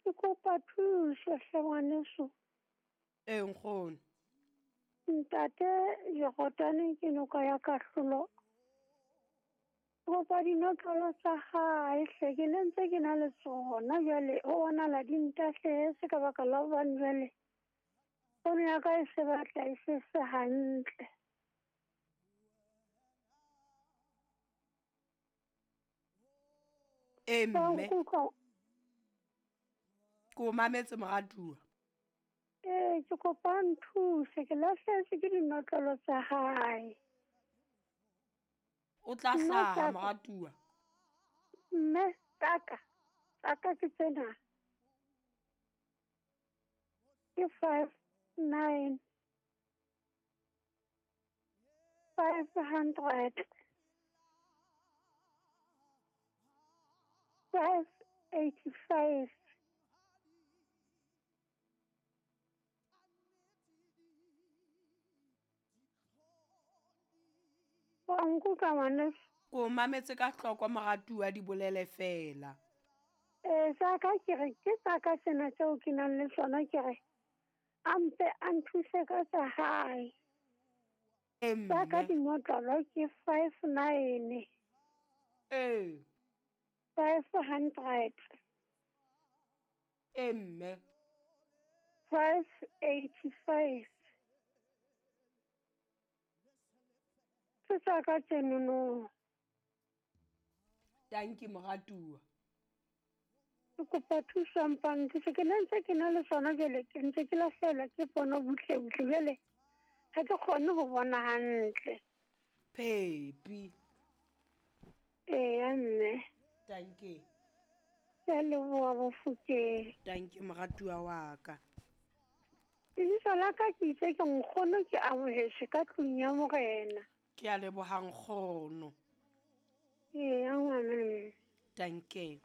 Ke kopa thuso hle ngwaneso. Ee nkgono. Ntate Jordan ke noka ya kahlolo. Ke kopa dinotlolo tsa hae hle, ke ne ntse ke na le tsona jwale ho bonahala di ntahlehetse ka baka la hobane jwale pono ya ka e se batla e se se hantle. Ee Wa mme. nkutlwa? Ke o mametse moratuwa. Ee, ke kopa o nthuse, ke lahlehetswe ke dinotlolo tsa hae. O tla Nna hlaha tsaka. moratuwa. Mme tsaka, tsaka ke tsena. Ke 5 9 500 585. Wa nkutlwa ngwaneso? Ke o mametse ka hloko moratuwa di bolele fela. Ee, tsaka ke re ke tsaka tsena tseo ke nang le tsona, ke re a mpe a nthuse ka tsa hae. Ee Tsaka mme. dinotlolo ke 5 9 Ee. 500 Ee mme. 585. Ke tsaka tsenono. Tanki moratuwa. Ke kopa thuso mpa nthuse, ke ne ntse ke na le tsona jwale ke ntse ke lahlehelwa ke pono butle butle jwale ha ke kgone ho bona hantle. Phepi. Eya mme. Tanki. Ke a leboha Bofokeng. Tanki moratuwa wa ka. Lebitso la ka ke itse ke nkgono, ke amohetswe ka tlung ya morena. Ke a leboha nkgono. Eya ngwana mme. Tanki.